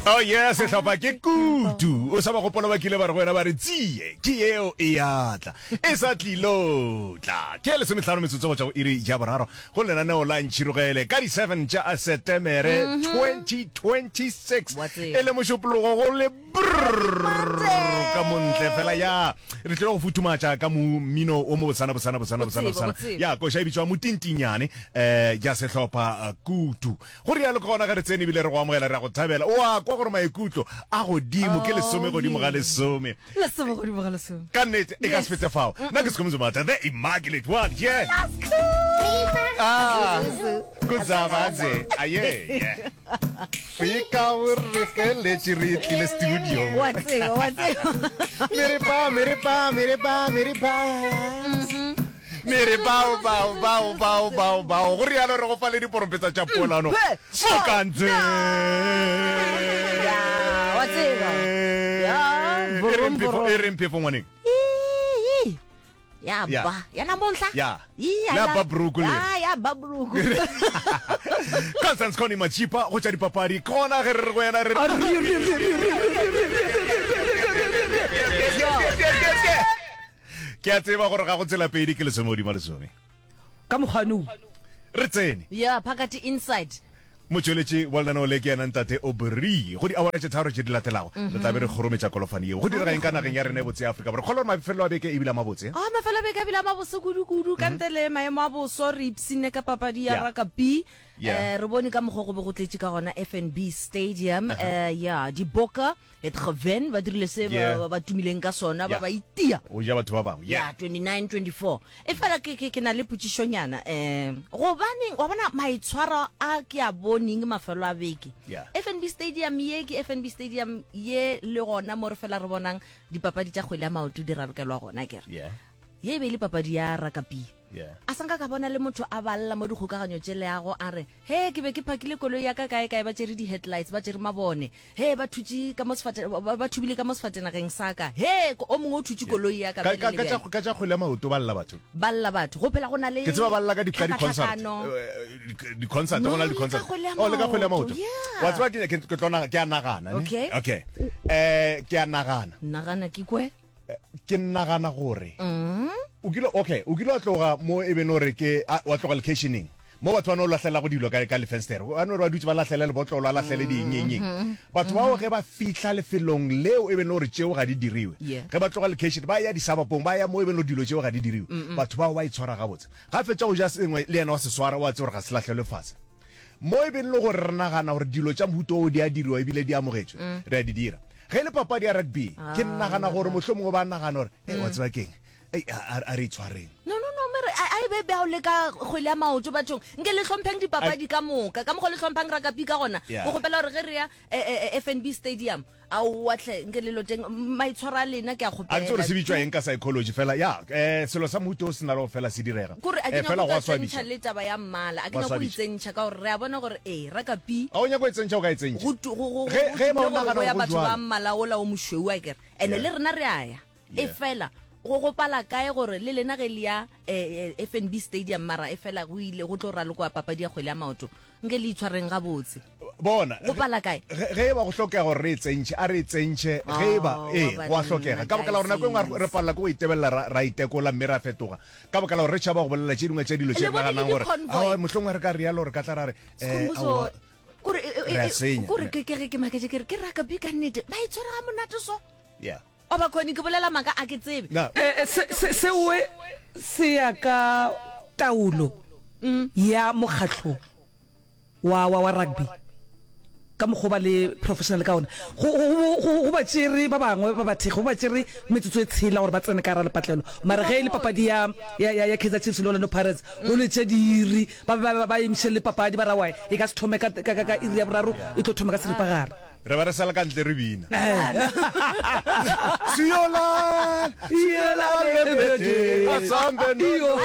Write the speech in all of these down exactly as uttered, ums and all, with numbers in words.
Oh yeah, sehlopha ke kutu. O sa ba gopola ba kile ba re go wena ba re tsie ke yeo e ya tla. E sa tlilo tla. Ke lesomehlano metsotso go tšwa go iri ya boraro go lenaneo la Ntšhirogele ka di seven tša Setemere twenty twenty-six. Wa tseba. E le mošupologo go le brrrr ka montle fela ya re tlile go futhumatša ka mo mmino o mo bosana bosana bosana bosana Go tseba, bosana. go tseba. Ya koša e bitšwa Motintinyane eh ya sehlopha eh, kutu. Go rialo ke gona ge re tsene ebile re go amogela re a go thabela. O a kwa gore maikutlo a godimo ke lesome godimo ga lesome. Lesome godimo ga lesome. Ka nnete e ka se fete fao. Nna ke Skhumbuzo Mata, the immaculate one. Yeah. Ah, Kudzavadze. Aye. Yeah. Fika o re feletše re tlile studio. Wa tseba, wa tseba. Mere pa, mere pa, mere pa, mere pa. Mere bao bao bao bao bao bao. Go rialo re go fa le diporompetsa tša polano. Mokantse. Ya, wa tseba. Ya, E reng borom, phefo, borom. e reng phefo ngwaneng? Ii, Ya Ya. ba, ya na monhla. Ya. Ii, La ba bruku le. Ya, ya ba bruku. Constance Connie Machipa go tša dipapadi. Ke gona ge re re go yena re re. Ke a tseba gore ga go tsela pedi ke lesome godimo lesome. Ka mokgwa no. Re tsene. Ya, phakathi inside. Motšweletši wa lenaneo le ke yena Ntate Aubrey. Go diawara tše tharo tše di latelago, re tla be re kgorometša kolofane yeo. Go direga eng ka nageng ya rena e botse ya Afrika Borwa? Kgolwa gore mafelelo a beke e bile a mabotse. Ah, mafelo a beke a bile a mabose kudu-kudu. Ka ntle le maemo a boso, re ipshinne ka papadi ya Yeah. rakabi. Yeah. Eh, re bone ka mokgwa go be go tletše ka gona F N B Stadium. Eh, ya, Diboka het gewen, ba dirile se ba, Yeah. ba, ba tumileng ka sona, ba Yeah. ba itia. Go ja batho ba bangwe. Yeah, Yeah. twenty-nine twenty-four. E fela ke, ke, ke na le potšišonyana. Eh, gobaneng, wa bona maitshwaro a ke a boneng mafelo a beke. Yeah. F N B Stadium ye ke F N B Stadium ye le gona mo re fela re bonang dipapadi tša kgwele ya maoto di ralokelwa gona, ke re. Yeah. Ye e be e le papadi ya rakabi. Yeah. A sanka ka bona le motho a balla mo dikgokaganyo tše leago a re, he ke be ke phakile koloi ya ka kae kae, ba tšere di-headlights, ba tšere mabone, he ba thutše ka mo sefate-, ba, ba thubile ka mo sefatenageng sa ka, he o mongwe o thutše koloi ya ka Ka, bjale ka, le ka tša, bjale. ka tša kgwele ya maoto ba lla batho. Ba lla batho. Go phela go na le Ke tseba ba lla ka di-, ka di-concert. tlhakatlhakano. Eh, di-concert, go No, na le le ka di-concert. kgwele ya Oh, le ka kgwele ya maoto, maoto. yeah. Wa tseba ke, ke, ke tlo naga-, ke a nagana, ne? Okay. Okay. Eh, ke a nagana. Nagana ke kwe? Ke nagana gore Mm. o kile, okay, o kile wa tloga mo e beng gore ke, a, wa tloga locationeng mo batho ba no lahlela go dilo ka, ka lefenstere. Ba no re ba dutse ba lahlele lebotlolo, ba lahlele di eng, eng, eng. Mm-hmm. Batho bao ge ba fihla lefelong leo e beng gore tšeo ga di diriwe. Yeah. Ge ba tloga location, ba ya disabapong, ba ya mo e beng gore dilo tšeo ga di diriwe. Mm-mm. Batho bao ba itshwara gabotse. Ga fetša go ja sengwe le yena wa se swara, wa tseba gore ga se lahlelwe fase. Mo e beng le gore re nagana gore dilo tša mohuta oo di a diriwa ebile di amogetšwe, Mm. re a di dira. Ge e le papadi ya rugby, ke Ah, nagana gore nagana. mohlomongwe ba nagana gore, hey, wa Mm. tseba keng? Ei, a, a, a re itshwareng. No, no, no, mere, a, a e be bjao le ka kgwele ya maoto bathong. Nke le hlompheng dipapadi ka moka. Ka mokgwa le hlomphang rakapi ka gona. Yeah. Ke kgopela gore ge re ya, eh, eh, eh, F N B Stadium, aowa hle, nke le loteng, maitshwaro a lena ke a A ke tsebe gore kgopela. se bitšwa eng ka psychology fela, ya, eh, selo sa mohuta o se na le go fela se direga. Kore a ke Eh, nyako fela go go a tsentšha swabisa. le taba ya mmala. A ke Go a nyako go swabisa. itsentšha ka gore re a bona gore, ee, rakapi A o nyako e tsentšha, o ka e tsentšha. Go tu-, go, go, Ge, go ge ba o tumile gore nagana go ya gore go batho ba jwalo. mmala ola o mošweu a kere. Ene Yeah. le rena re a ya. E Yeah. fela, go gopala kae gore le lena ge le ya, eh, eh, F N B Stadium, mara e fela go ile go tlo ralokwa papadi ya kgwele ya maoto. Nke le itshwareng gabotse. Bona, Go pala kae? ge, ge e ba go hlokega gore re e tsentšhe, a re e tsentšhe, ge e ba, Oh, ee, wa go a banna, hlokega. Ka baka la gore nako e nngwe re guys. palela ke go itebelela, ra, ra itekola mme ra fetoga. Ka baka la gore re tšhaba go bolela tše dingwe tša dilo tše Le re bone le naganang gore, di-convoy. aowa, mohlomongwe re ka rialo, re ka tla ra re, eh, Skhumbuzo, aowa, kore, e, e, re a e, senya. kore ke, ke ge ke maketše ke re, ke rugby ka nnete, ba itshwere ga monate so. Yeah. O ba khone ke bolela maaka a ke tsebe. Na. Eh, eh, se, se, seo se ya ka taolo Mm. ya mokgatlo wa, wa, wa rugby ka mokgwa ba le professional ka ona. Go, go, go, go ba tšere ba bangwe ba bathekgi, go ba tšere metsotso e tshela gore ba tsene ka gare lepatlelo. Mara ge e le papadi ya, ya, ya, ya Kaizer Chiefs le Orlando Pirates, go le tše diiri, ba be ba, ba emiše le papadi, ba ra wa e ka se thome ka, ka, ka, ka iri ya boraro, e tlo thoma ka seripagare. Re ba re sala ka ntle re bina. Siyolala, siyolala bete, asambe no.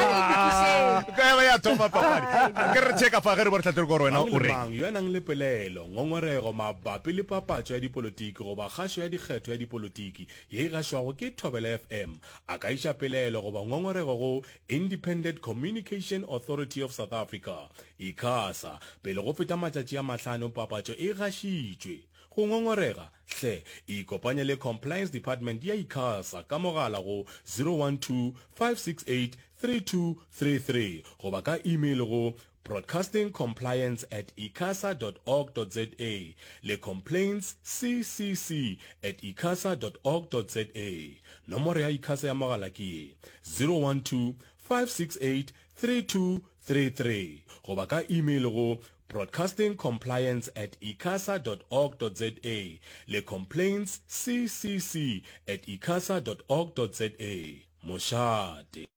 Ka ya ba ya thoma papadi. Ke re checka fa ge re bo re hlatlere gore wena Mang o le reng. mang yo a nang le pelaelo, ngongorego mabapi le papatšo ya dipolotiki goba kgašo ya dikgetho ya dipolotiki ye e gašwago ke Thobela F M a ka iša pelaelo goba ngongorego go Independent Communication Authority of South Africa, ICASA, pele go feta matšatši a mahlano papatšo e gašitšwe. Go ngongorega, hle ikopanye le Compliance Department ya ICASA ka mogala go zero one two, five six eight, three two three three goba ka email go broadcastingcompliance at icasa dot org dot za le complaintsccc at icasa dot org dot za. Nomoro ya ICASA ya mogala ke ye, zero one two, five six eight, three two three three goba ka email go broadcastingcompliance at icasa dot org dot za le complaintsccc at icasa dot org dot za. Mošate.